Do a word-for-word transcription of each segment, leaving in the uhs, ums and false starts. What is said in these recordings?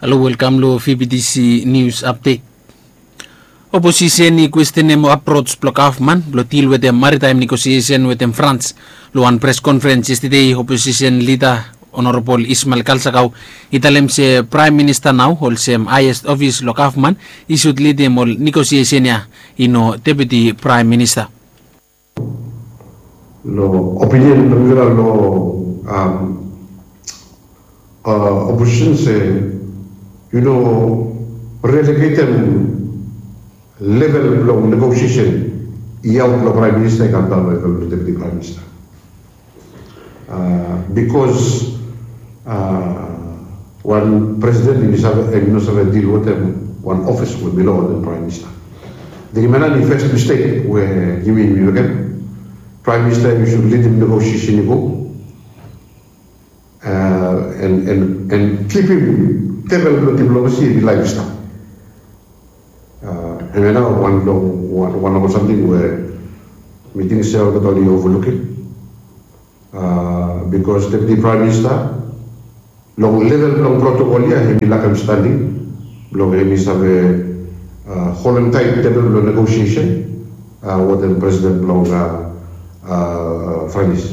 Halo, welkam long V B T C News Update. Oposisen i kwestenem aprots blong gavman blong dil wetem maritaem negosiesen wetem Frans. Long wan pres konferens yestede, oposisen lida Honorabol Ismael Kalsakau i talem se Praem Minista nao olsem haeset ofis long gavman i sud lidim ol negosiesen ya, i no Deputi Praem Minista. Long opinion blong mifala long oposisen se yu no relegetem level blong negosiesen i aot long Praem Minista i kam daon long level blong Deputi Praem Minista. Bikos wan presiden i no save dil wetem wan ofis we bilong wetem Praem Minista. Hemia nao i fes mistek we yumi yumi mekem. Praem Minista i sud lidim negosiesen i go, en kipim tebel blong diplomasi i laef i stap. Hemia nao wan long ol samting we mi ting se olgeta oli ovalukim. Bikos Deputi Praem Minista long level blong protokol ya hem i lakem standing blong hem i save holem taet tebel blong negosiesen wetem presiden blong Franis.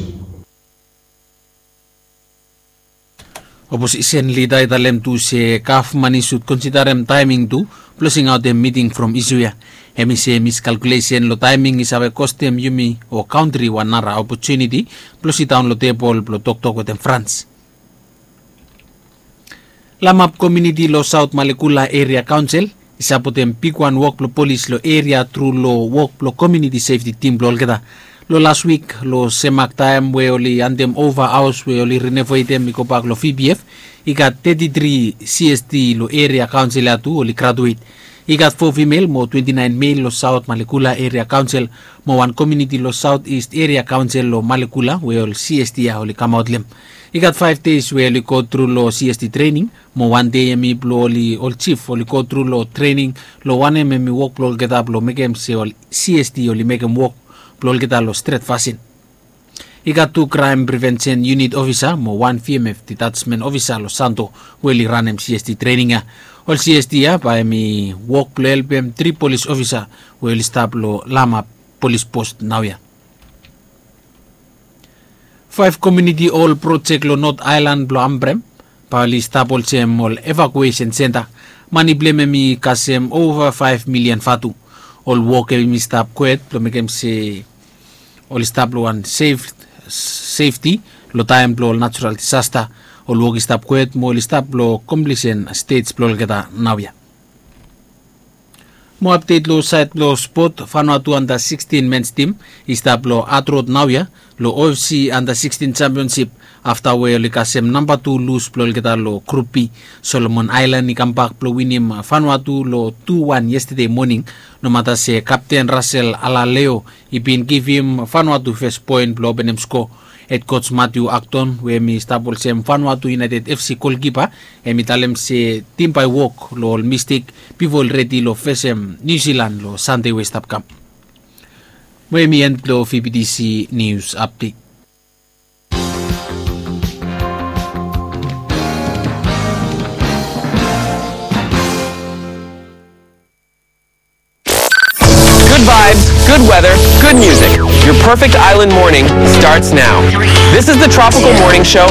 Oposisen lida i talem tu se gavman i sud konsiderem taeming tu blong singaotem miting from isu ya. Hem i se miskalkulesen long taeming i save kostem yumi o kantri wan nara opotuniti blong sidaon long tebol blong toktok wetem Frans. Lamap komuniti long Saot Malekula Eria Kaonsel i sapotem bigwan wok blong polis long eria tru long wok blong komuniti sefti tim blong olgeta. Long las wik long semak taem we oli handem ova haos we oli renovetem i gobak long V B F, i gat teti tri C S T long eria kaonsel ya tu oli graduet. I gat fo fimel mo twenti naen mel long Saot Malekula Eria Kaonsel mo wan komuniti long Saot Ist Eria Kaonsel long Malekula we ol C S T ya oli kamaot long hem. I gat faef deis we oli gotru long C S T trening mo wan dei hemi blong oli ol jif oli gotru long trening long wanem hemi wok blong olgeta blong mekem se ol C S T oli mekem wok blong olgeta long stret fasin. I gat tu kraem prevensen yunit ofisa mo wan V M F ditatsmen ofisa long Santo we oli ranem C S T trening ya. Ol C S T ya bae hemi wok blong helpem tri polis ofisa we oli stap long Lamap polis pos naoia. Faef komuniti ol projek long Not Aelan blong Ambrem bae oli stap olsem ol evakuesen senta. Mani blong hem hemi kasem ova faef milian vatu. Ol wok hemi stap kwet blong mekem se oli stap long wan sefti long taem blong ol natural disasta. Ol wok i stap kwet mo oli stap long komplisen stej blong olgeta naoia. Mo apdet long saed blong spot, Vanuatu anda sikstin mens tim i stap long hadrod naoia long O F C anda sikstin jampionsip afta we oli kasem namba tu lus blong olgeta long Grup B. Solomon Aelan i kambak blong winim Vanuatu long tu wan yestede moning. Nomata se kapten Rasel Alaleo i bin givim Vanuatu fes poen blong openem sko. Hed koj Matiu Akton we hemi stap olsem Vanuatu Iunaeted F C golkipa, hemi talem se tim bae wok long ol mistek bifo oli redi long fesem Niu Silan long Sande we i stap kam. Mo hemi en blong V B T C Nius Apdet. Good vibes, good weather, good music. Your perfect island morning starts now. This is the Tropical Morning Show